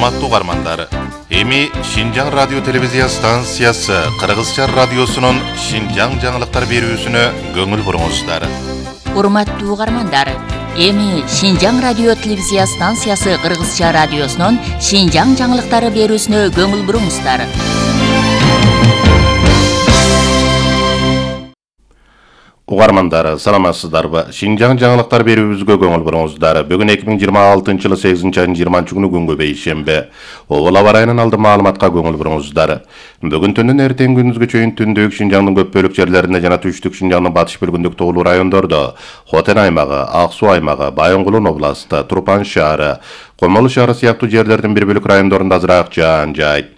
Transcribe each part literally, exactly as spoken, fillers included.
Урматтуу угармандар, эми Шинжаң радио телевизия станциясы Кыргызча радиосунун Шинжаң жаңылыктар берүүсүнө көңүл буруңуздар. Урматтуу угармандар, эми Шинжаң радио телевизия станциясы Кыргызча радиосунун Шинжаң жаңылыктары берүүсүнө көңүл буруңуздар. Угармандар, саламатсыздарбы? Шинжаң жаңылыктар берүүбүзгө көңүл буруңуздар. Бүгүн эки миң жыйырма алтынчы жылы сегизинчи айдын жыйырманчы күнү күнгө бейшемби. Обол аба ырайынын алды маалыматка көңүл буруңуздар. Бүгүн түндүн эртең күнүзгө чейин түндүк Шинжаңдын көп бөлүк жерлеринде жана түштүк Шинжаңдын батыш бөлүгүндөгү тоолуу райондордо, Хотен аймагы, Ак Суу аймагы, Байонгулун областы, Турпан шаары, Комолу шаары сыяктуу жерлердин бир бөлүк райондорунда азыраак жаан жайт.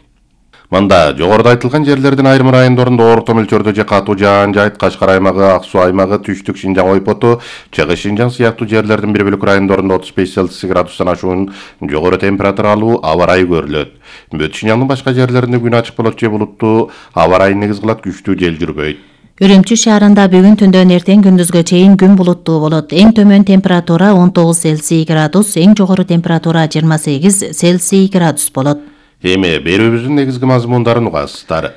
Мында жогоруда айтылган жерлердин айрым райондорунда орто мөлчөрдө же катуу жаан жайт, Кашкар аймагы, Ак Суу аймагы, түштүк Шинжаң ойпоту, Чыгыш Шинжаң сыяктуу жерлердин бир бөлүк райондорунда отуз беш Цельсий градустан ашуун жогору температуралуу аба ырайы көрүлөт. Бүт Шинжаңдын башка жерлеринде күн ачык болот же булуттуу, аба ырайы негиз кылат, күчтүү жел жүрбөйт. Үрүмчү шаарында бүгүн түндөн эртең күндүзгө чейин күн булуттуу болот. Эң төмөн температура он тогуз Цельсий градус, эң жогору температура жыйырма сегиз Цельсий градус болот. Эми берүүбүздүн негизги мазмундарын угасыздар.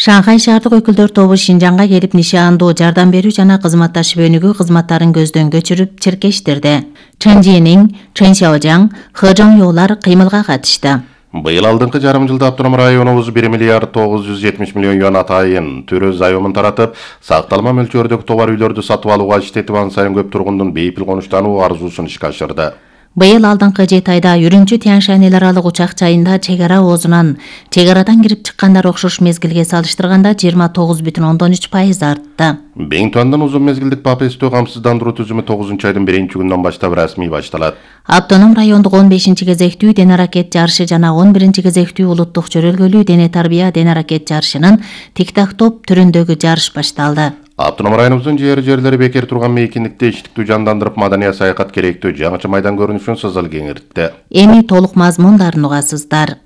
Шанхай шаардык өкүлдөр тобу Шинжаңга келип нишандуу жардам берүү жана кызматташып өнүгүү кызматтарын көздөн көчүрүп чиркештирди. Чэнжинин, Чэншаожаң, Хэжоңёлар кыймылга катышты. Быйыл алдыңкы жарым жылда автоном районубуз бир миллиард тогуз жүз жетимиш миллион юан атайын түрү заёмун таратып, сакталма мөлчөрдөгү товар үйлөрдү сатып алууга иштетип, ан сайын көп тургундун бейпил конуштануу арзуусун ишке ашырды. Быйыл алдыңкы жети айда Үрүмчү Тянь-Шань эл аралык учак жайында чек ара оозунан чек арадан кирип чыккандар окшош мезгилге салыштырганда жыйырма тогуз бүтүн ондон үч пайыз артты. Бейнтуандын узун мезгилдик папестөө камсыздандыруу түзүмү тогузунчу айдын биринчи күнүнөн баштап расмий башталат. Автоном райондук он бешинчи кезектүү дене аракет жарышы жана он биринчи кезектүү улуттук жөрөлгөлүү дене тарбия дене аракет жарышынын тик-так-топ түрүндөгү жарыш башталды. Автоном районубуздун жер жерлери бекер турган мейкиндикте иштиктүү жандандырып, маданий саякат керектүү жаңычы майдан көрүнүшүн сызыл кеңиртти. Эми толук мазмундарын угасыздар.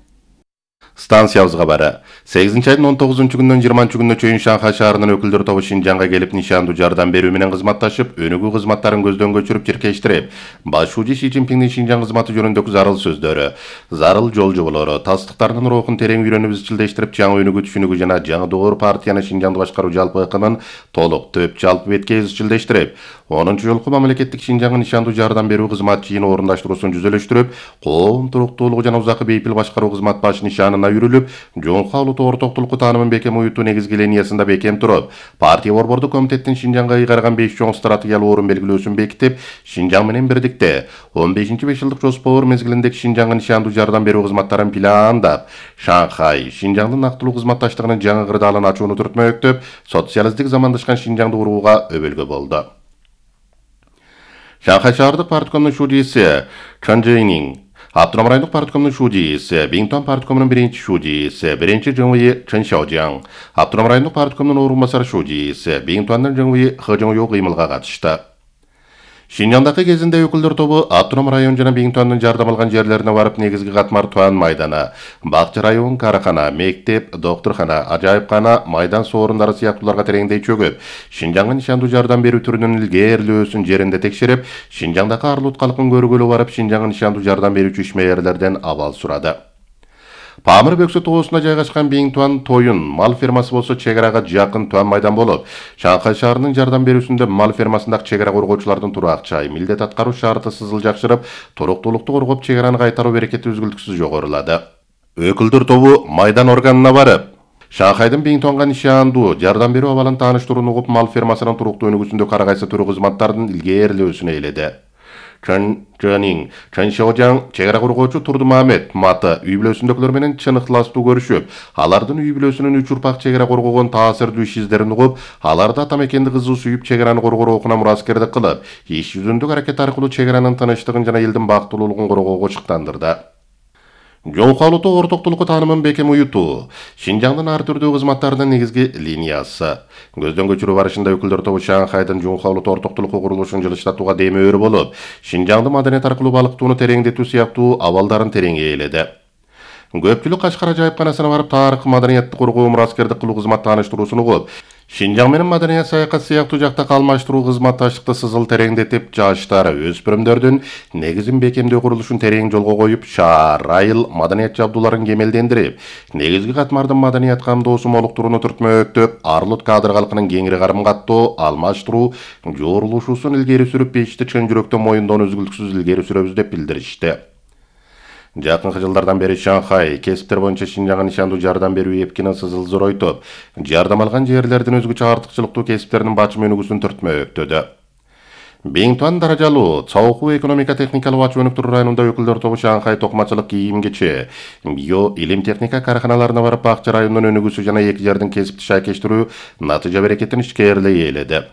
Станциябызга бары. сегизинчи айдын он тогузунчу күнүнөн жыйырманчы күнүнө чейин Шанхай шаарынын өкүлдөр тобу Шинжаңга келип нишандуу жардам берүү менен кызматташып, өнүгүү кызматтарын көздөн көчүрүп чиркештирип, башчы Си Цзиньпиндин Шинжаң кызматы жөнүндөгү зарыл сөздөрү, зарыл жол жоболору, тастыктардын рухун терең үйрөнүп изчилдештирип, жаңы өнүгүү түшүнүгү жана жаңы доор партияны Шинжаңды башкаруу жалпы ыкымын толук төп жалпы бетке изчилдештирип, онунчу жолку мамлекеттик Шинжаңга нишандуу жардам берүү кызмат жыйыны орундаштыруусун жүзөлөштүрүп, коом туруктуулугу жана узакы бейпил башкаруу кызмат баш нишанына үйрүлүп, жоңку улуттуу ортоктулукку таанымын бекем уютуу негизги линиясында бекем туруп, партия борбордук комитеттин Шинжаңга ыйгарган беш чоң стратегиялык орун белгилөөсүн бекитип, Шинжаң менен бирдикте он бешинчи беш жылдык жоспор мезгилиндеги Шинжаңга нишандуу жардам берүү кызматтарын пландап, Шанхай Шинжаңдын нактылуу кызматташтыгынын жаңы кырдаалын ачууну түртмөктөп, социалисттик замандашкан Шинжаңды курууга өбөлгө болду. Шанхай шаардык парткомдун шудийси Чан Жэйнин, Автоном райондук парткомдун шудийси, Бейнтуан парткомунун биринчи шудийси, биринчи ЖМВ Чэн Шаожаң, Автоном райондук парткомдун орун басары шудийси, Бейнтуандын ЖМВ Хэжоңё кыймылга катышты. Шинжаңдагы кезинде өкүлдөр тобу Автоном район жана Бейнтуандын жардам алган жерлерине барып, негизги катмар Туан майданы, Бакчы район, Каракана, мектеп, доктурхана, ажайыпкана, майдан соорундары сыяктууларга тереңдей чөгүп, Шинжаңга нишандуу жардам берүү түрүнүн илгээрилөөсүн жеринде текшерип, Шинжаңдагы арлуу калкын көргөлү барып, Шинжаңга нишандуу жардам берүүчү ишмерлерден абал сурады. Памыр бөксө тоосунда жайгашкан Бейнтуан тоюн мал фермасы болсо чек арага жакын Туан майдан болуп, Шанхай шаарынын жардам берүүсүндө мал фермасындагы чек ара коргоочулардын тураак жайы, милдет аткаруу шарты сызыл жакшырып, туруктуулукту коргоп, чек араны кайтаруу берекети үзгүлтүксүз жогорулады. Өкүлдөр тобу майдан органына барып, Шанхайдын Бейнтуанга нишандуу жардам берүү абалын тааныштырууну угуп, мал фермасынын туруктуу өнүгүүсүндө ар кайсы түрү кызматтардын илгээрилөөсүн ээледи. Чэн Жэнин, Чэн Шаожаң, чек ара коргоочу Турдумамет Маты үй бүлөсүндөгүлөр менен чын ыктыластуу көрүшүп, алардын үй бүлөсүнүн үч урпак чек ара коргогон таасирдүү иш издерин угуп, аларды ата мекенди кызуу сүйүп чек араны коргоо окуна мураскердик кылып, иш жүзүндө аракет аркылуу чек аранын тынычтыгын жана элдин бактылуулугун коргоого чыктандырды. Жоңку улуттук ортоктулукку таанымын бекем уютуу, Шинжаңдын ар түрдүү кызматтарынын негизги линиясы. Көздөн көчүрүү барышында өкүлдөр тобу Шанхайдын жоңку улуттук ортоктулукку курулушун жылыштатууга демөөр болуп, Шинжаңды маданият аркылуу балыктоону тереңдетүү сыяктуу абалдарын терең ээледи. Көпчүлүк Кашкар ажайыпканасына барып тарых, маданиятты коргоо, мураскердик кылуу кызмат тааныштыруусун угуп, Шинжаң менен маданият саякат сыяктуу жакта калмаштыруу кызматташтыкты сызыл тереңдетип, жаштар, өспүрүмдөрдүн негизин бекемдөө курулушун терең жолго коюп, шаар, айыл маданият жабдууларын кемелдендирип, негизги катмардын маданият камдоосу молуктурууну түртмөктөп, Арлут кадр калкынын кеңири карым каттоо, алмаштыруу, жоорулушуусун илгери сүрүп, бешти чын жүрөктөн моюндоону үзгүлтүксүз илгери сүрөбүз деп билдиришти. Жакынкы жылдардан бери Шанхай кесиптер боюнча Шинжаңга нишандуу жардам берүү эпкинин сызыл зоройтуп, жардам алган жерлердин өзгөчө артыкчылыктуу кесиптеринин бачым өнүгүүсүн түртмөктөдө. Биңтуан даражалуу Цаоху экономика техникалык ачуу өнүктүрүү районунда өкүлдөр тобу Шанхай токмачылык, кийим кечи, био илим техника караханаларына барып, Акча районунун өнүгүүсү жана эки жердин кесипти шайкештирүү натыйжа берекетин ишкерлей ээледи.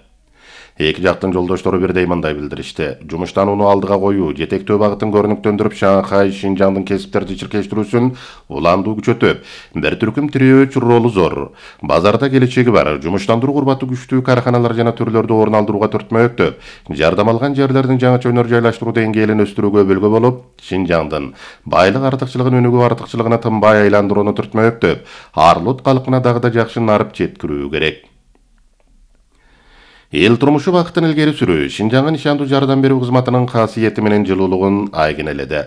Эки жактын жолдоштору бирдей мындай билдиришти. Жумуштанууну алдыга коюу, жетектөө багытын көрүнүктөндүрүп, Шанхай Шинжаңдын кесиптерди чиркештирүүсүн уландуу күчөтүп, бир түркүм тирөөч ролу зор. Базарда келечеги бар, жумуштандыруу курбаты күчтүү караханалар жана түрлөрдү орун алдырууга түртмөктөп, жардам алган жерлердин жаңыча өнөр жайлаштыруу деңгээлин өстүрүүгө өбөлгө болуп, Шинжаңдын байлык артыкчылыгын өнүгүү артыкчылыгына тынбай айландырууну түртмөктөп, Арлут калкына дагы да жакшы нарып жеткирүү керек. Эл турмушу бакытын илгери сүрүү Шинжаңга нишандуу жардам берүү кызматынын касиети менен жылуулугун айгинеледи.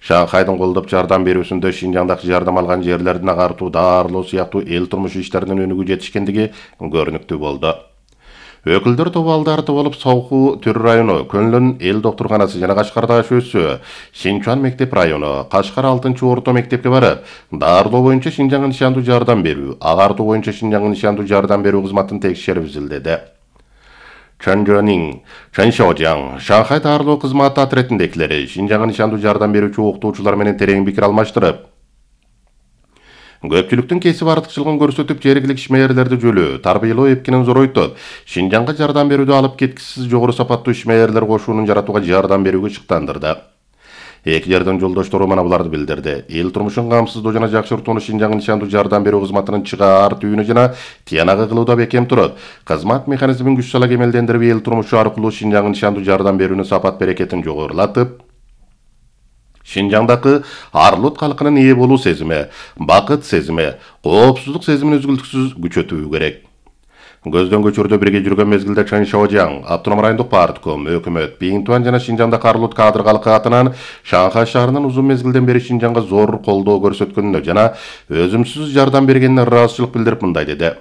Шанхайдын колдоп жардам берүүсүндө Шинжаңдагы жардам алган жерлердин агартуу, даарылоо сыяктуу эл турмушу иштеринин өнүгүү жетишкендиги көрүнүктүү болду. Өкүлдөр тобу алды арты болуп, Цаоху төр району, Көнлөн эл доктурканасы жана Кашкарда ШӨСү, Шинчуан мектеп району, Кашкар алтынчы орто мектепке барып, даарылоо боюнча Шинжаңга нишандуу жардам берүү, агартуу боюнча Шинжаңга нишандуу жардам берүү кызматын текшерип изилдеди. Чанжонин, Чаншаожаң, Шанхай даарылоо кызматы отрядындагилери Шинжаңга нишандуу жардам берүүчү окутуучулар менен терең пикир алмаштырып, көпчүлүктүн кесип артыкчылыгын көрсөтүп, жергиликтүү ишмерлерди жөлөө, тарбиялоо эпкинин зоройтуп, Шинжаңга жардам берүүдө алып кеткисиз жогору сапаттуу ишмерлер кошуунун жаратууга жардам берүүгө чыктандырды. Эки жердин жолдоштору мына буларды билдирди. Эл турмушун камсыздоо жана жакшыртууну Шинжаңга нишандуу жардам берүү кызматынын чыгаар түйүнү жана тиянагы кылууда бекем турат. Кызмат механизмин күч сала кемелдендирип, эл турмушу аркылуу Шинжаңга нишандуу жардам берүүнүн сапат берекетин жогорулатып, Шинжаңдагы Арлут калкынын ээ болуу сезими, бакыт сезими, коопсуздук сезимин үзгүлтүксүз күчөтүү керек. Көздөн көчүрдө бирге жүргөн мезгилде Чан Шаожаң, Автоном райондук партком, өкмөт, Биңтуан жана Шинжаңда Арлут кадр калкы атынан Шанхай шаарынын узун мезгилден бери Шинжаңга зор колдоо көрсөткөнүнө жана өзүмсүз жардам бергенине ыраазычылык билдирип мындай деди.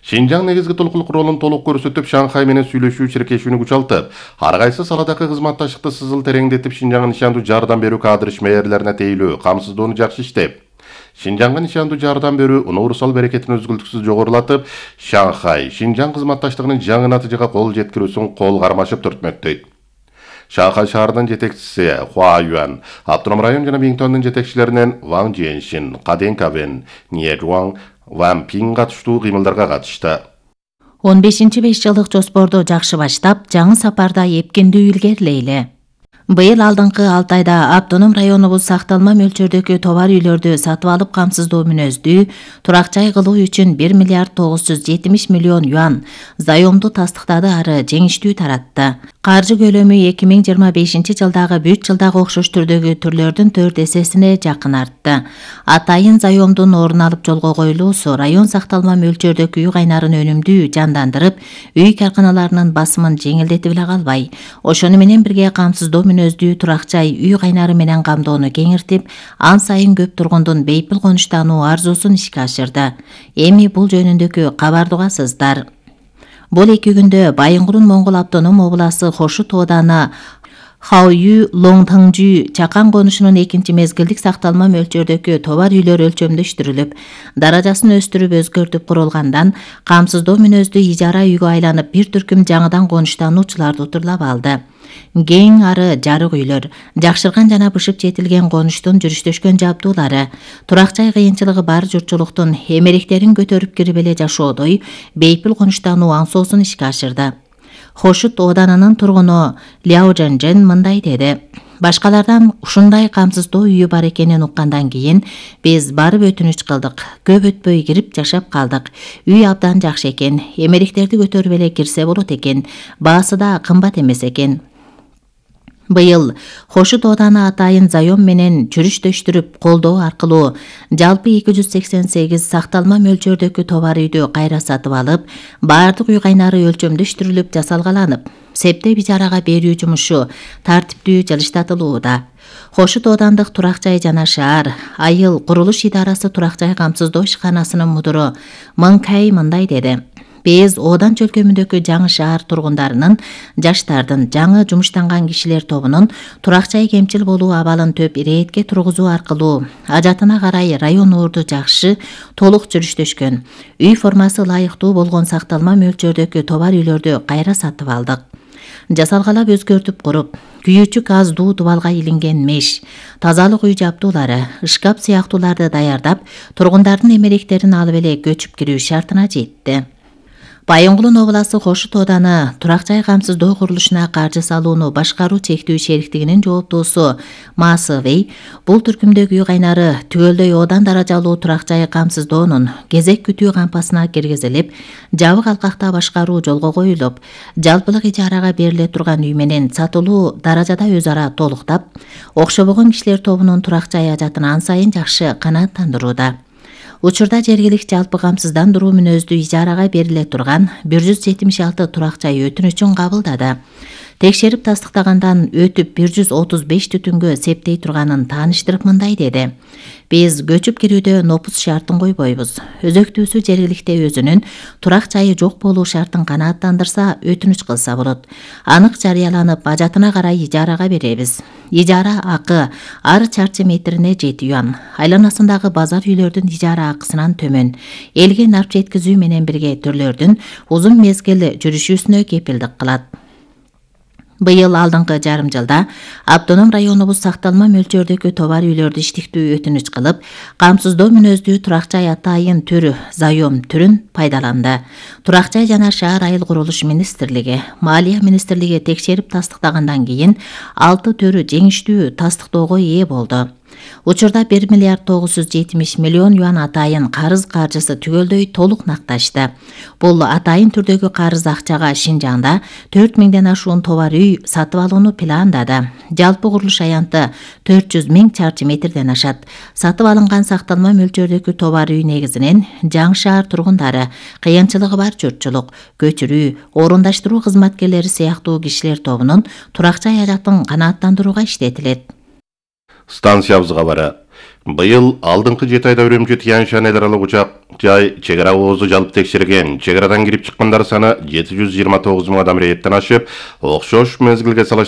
Шинжаң негизги толкулук ролун толук көрсөтүп, Шанхай менен сүйлөшүү, чиркешүүнү күчалтып, ар кайсы саладагы кызматташтыкты сызыл тереңдетип, Шинжаңга нишандуу жардам берүү кадр ишмерлерине тейлөө, камсыздоону жакшы иштеп, Шинжаңга нишандуу жардам берүү универсал берекетин үзгүлтүксүз жогорулатып, Шанхай Шинжаң кызматташтыгынын жаңы натыйжага кол жеткирүүсүн кол кармашып түртмөктөйт. Шанхай шаарынын жетекчиси Хуа Юан, Автоном район жана Биңтуандын жетекчилеринен Ван Жиэншин, Каден Кавен, Ниэ Жуан, Ван Пин катыштуу кыймылдарга катышты. он бешинчи беш жылдык жоспорду жакшы баштап, жаңы сапарда эпкиндүү илгерилейли. Быйыл алдыңкы алты айда автоном районубуз сакталма мөлчөрдөгү товар үйлөрдү сатып алып камсыздоо мүнөздүү турак жай кылуу үчүн бир миллиард тогуз жүз жетимиш миллион юан заемду тастыктады, ары жеңиштүү таратты. Каржы көлөмү эки миң жыйырма бешинчи жылдагы бүт жылдагы окшош түрдөгү түрлөрдүн төрт эсесине жакын артты. Атайын заемдун орун алып жолго коюлуусу район сакталма мөлчөрдөгү үй кайнарын өнүмдүү жандандырып, үй карканаларынын басымын жеңилдетип эле калбай, ошону менен бирге камсыздоо мүнөздүү турак жай үй кайнары менен камдоону кеңиртип, ан сайын көп тургундун бейпил конуштануу арзуусун ишке ашырды. Эми бул жөнүндөгү кабарды угасыздар. Бул эки күндө Байынгурун Моңгол автоном обласы Хошут ооданы Хаою Лоңтаңжүү чакан конушунун экинчи мезгилдик сакталма мөлчөрдөгү товар үйлөр өлчөмдөштүрүлүп, даражасын өстүрүп өзгөртүп курулгандан камсыздоо мүнөздүү ижара үйгө айланып, бир түркүм жаңыдан конуштануучуларды утурлап алды. Кең ары жарык үйлөр, жакшырган жана бышып жетилген конуштун жүрүштөшкөн жабдуулары, турак жай кыйынчылыгы бар журтчулуктун эмеректерин көтөрүп кирип эле жашоодой бейпил конуштануу аңсоосун ишке ашырды. Хошут оодарынын тургуну Ляо Жэнжэн мындай деди. Башкалардан ушундай камсыздоо үйү бар экенин уккандан кийин биз барып өтүнүч кылдык. Көп өтпөй кирип жашап калдык. Үй абдан жакшы экен, эмеректерди көтөрүп эле кирсе болот экен, баасы да кымбат эмес экен. Быйыл Хошут ооданы атайын заем менен жүрүштөштүрүп колдоо аркылуу жалпы эки жүз сексен сегиз сакталма мөлчөрдөгү товар үйдү кайра сатып алып, баардык үй кайнары өлчөмдөштүрүлүп жасалгаланып, септеп ижарага берүү жумушу тартиптүү жылыштатылууда. Хошут оодандык турак жай жана шаар айыл курулуш идарасы турак жай камсыздоо ишканасынын мудуру Мыңкай мындай деди: Биз оодан чөлкөмүндөгү жаңы шаар тургундарынын, жаштардын, жаңы жумуштанган кишилер тобунун турак жай кемчил болуу абалын төп иретке тургузуу аркылуу ажатына карай район уурду жакшы, толук жүрүштөшкөн, үй формасы ылайыктуу болгон сакталма мөлчөрдөгү товар үйлөрдү кайра сатып алдык. Жасалгалап өзгөртүп куруп, күйүүчү газ дуу дубалга илинген меш, тазалык үй жабдуулары, шкаф сыяктууларды даярдап, тургундардын эмеректерин алып эле көчүп кирүү шартына жетти. Байонгулун обласы Хошут ооданы турак жай камсыздоо курулушуна каржы салууну башкаруу чектүү шериктигинин жооптуусу Маасовей бул түркүмдөгү үй кайнары түгөлдөй оодан даражалуу турак жай камсыздоонун кезек күтүү кампасына киргизилип, жабык алкакта башкаруу жолго коюлуп, жалпылык ижарага бериле турган үй менен сатылуу даражада өз ара толуктап, окшобогон кишилер тобунун турак жай ажатын ан сайын жакшы канааттандырууда. Учурда жергиликтүү жалпы камсыздандыруу мүнөздүү ижарага бериле турган бир жүз жетимиш алты турак жай өтүнүчүн кабылдады. Текшерип тастыктагандан өтүп бир жүз отуз беш түтүнгө септей турганын тааныштырып мындай деди: Биз көчүп кирүүдө нопус шартын койбойбуз. Өзөктүүсү жергиликте өзүнүн турак жайы жок болуу шартын канааттандырса, өтүнүч кылса болот. Анык жарыяланып, ажатына карай ижарага беребиз. Ижара акы ар чарчы метрине жети юан. Айланасындагы базар үйлөрдүн ижара акысынан төмөн. Элге нарп жеткизүү менен бирге түрлөрдүн узун мезгил жүрүшүүсүнө кепилдик кылат. Быйыл алдыңкы жарым жылда автоном районубуз сакталма мөлчөрдөгү товар үйлөрдү иштиктүү өтүнүч кылып, камсыздоо мүнөздүү турак жай атайын түрү заем түрүн пайдаланды. Турак жай жана шаар айыл курулуш министрлиги, Маалия министрлиги текшерип тастыктагандан кийин алты төрү жеңиштүү тастыктоого ээ болду. Учурда бир миллиард тогуз жүз жетимиш миллион юан атайын карыз каржысы түгөлдөй толук накташты. Бул атайын түрдөгү карыз акчага Шинжаңда төрт миңден ашуун товар үй сатып алууну пландады. Жалпы курулуш аянты төрт жүз миң чарчы метрден ашат. Сатып алынган сакталма мөлчөрдөгү товар үй негизинен жаңы шаар тургундары, кыйынчылыгы бар журтчулук, көчүрүү, орундаштыруу кызматкерлери сыяктуу кишилер тобунун турак жай ажатын канааттандырууга иштетилет. Станциябызга бара. Быйыл алдыңкы жети айда Үрүмчү Тянь-Шань эл аралык учак жай чек ара оозу жалпы текшерген. Чек арадан кирип чыккандар саны жети жүз жыйырма тогуз миң адам рейеттен ашып, окшош мезгилге салыштырганда